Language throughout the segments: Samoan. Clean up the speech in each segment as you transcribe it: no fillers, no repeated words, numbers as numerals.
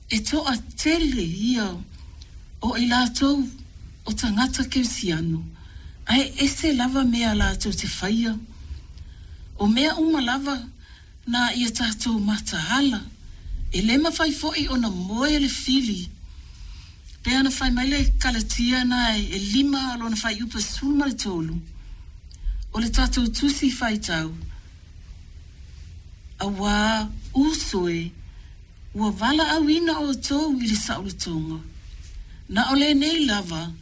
E toatele ia o i latou o tagata kerisiano, ae ese lava mea latou te faia. O mea uma lava na ia tatou mataala, e le mafai foi ona moe le fili. Pei ona fai mai le Kalatia na e 5 lona fuaiupu e 13, o le tatou tusi faitau, Auā uso e, ua valaauina outou i le saolotoga. Na o lenei lava,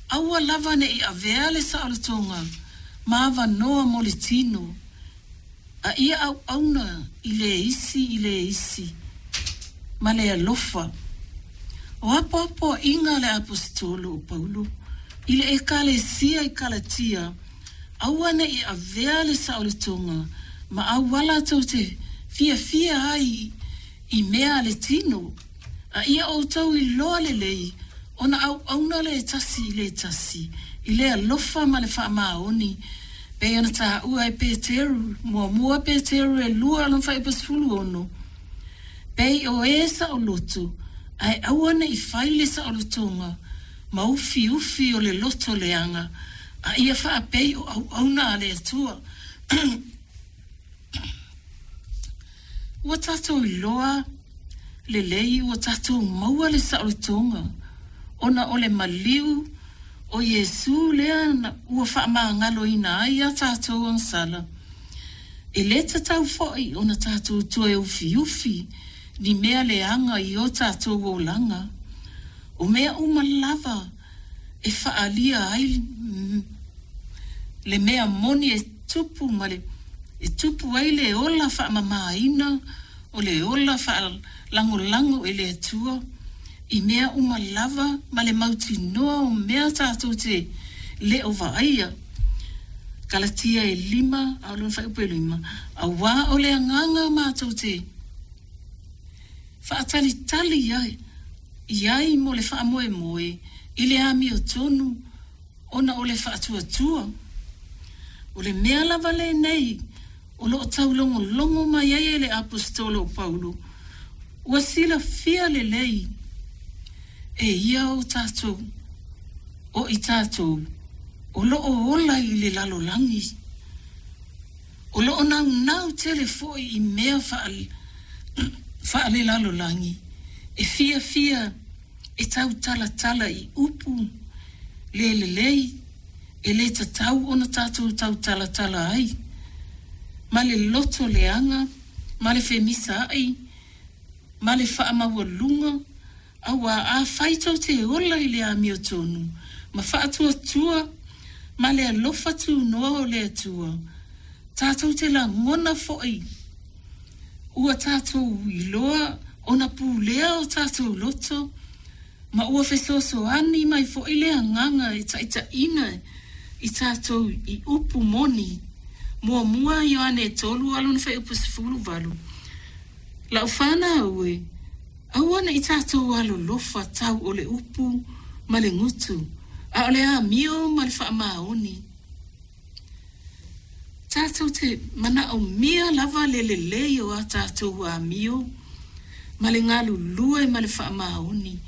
aua lava ne i avea le saolotoga ma avanoa mo le tino, a ia auauna i le isi i le isi ma le alofa. O apoapoaiga a le Aposetolo o Paulo i le Ekalesia i Kalatia, aua ne i avea le saolotoga ma auala tou te fiafia ai i mea a le tino, a ia outou iloa lelei ona auauna le tasi i le tasi i le alofa ma le faamaoni, pei ona taua e Peteru, 1 Peteru e 2 lona fuaiupu 16, Pei o e saoloto, ae aua ne i fai le saolotoga ma ufiufi o le loto leaga, a ia faapei o auauna a le Atua. Ua tatou iloa lelei ua tatou maua le saolotoga ona o le maliu o Iesu lea ua faamagaloina ai a tatou agasala. E le tatau foi ona tatou toe ufiufi ni mea leaga i o tatou olaga. O mea uma lava e faaalia ai le mea moni e tupu ma le e tupu ai le ola faamamaina o le ola faalagolago i le Atua i mea uma lava ma le mautinoa o mea tatou te le o vaaia. Kalatia e 5 a o lona fuaiupu e 5, Auā o le agaga matou te faatalitali ai i ai mo le faamoemoe i le amiotonu ona o le faatuatua. O le mea lava lenei o lo o taulogologo mai ai e le Aposetolo o Paulo, ua silafia lelei e ia o tatou, o i tatou o lo o ola i le lalolagi, o lo o naunau tele foi i mea faalelalolagi, e fiafia e tautalatala i upu le lelei e le tatau ona tatou tautalatala ai, ma le loto leaga, ma le femisaai, ma le faamaualuga, auā afai tou te ola i le amiotonu ma faatuatua ma le alofa tunoa o le Atua, tatou te lagona foi ua tatou iloa ona pulea o tatou loto, ma ua fesoasoani mai foi le Agaga e taitaiina i tatou i upu moni. 1 Ioane 3 a lona fuaiupu 18. Lau fanau e, aua ne i tatou alolofa tau o le upu ma le gutu, a o le amio ma le faamaoni. Tatou te manaomia lava le lelei o a tatou amio ma le galulue ma le faamaoni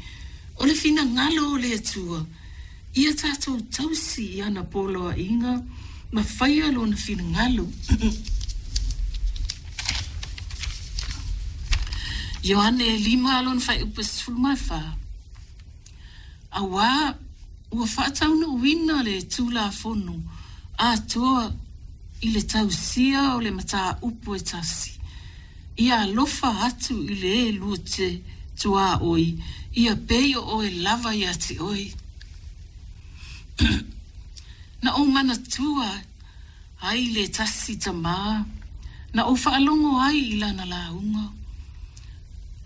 o le finagalo o le Atua, ia tatou tausi i ana poloaiga ma faia Lona finagalo. Ioane 5 lona fuaiupu 14. Auā ua faataunuuina le Tulafono atoa i le tausia o le mataupu e tasi, ia alofa atu i le e lua te tuaoi, ia pei o oe lava ia te oe. Na ou manatua ai le tasi tama na ou faalogo ai i lana lauga,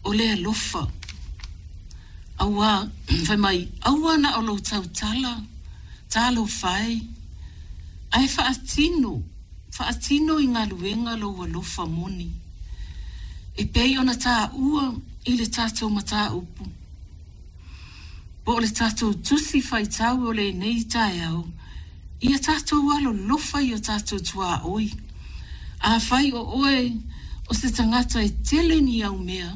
o le alofa. Auā, fai mai, aua na o lou tautala, talofa e, ae faatino, faatino i galuega lou alofa moni, e pei ona taua i le tatou mataupu. Po o le tatou tusi faitau o lenei taeao, ia tatou alolofa i o tatou tuaoi. Afai o oe o se tagata e tele ni au mea,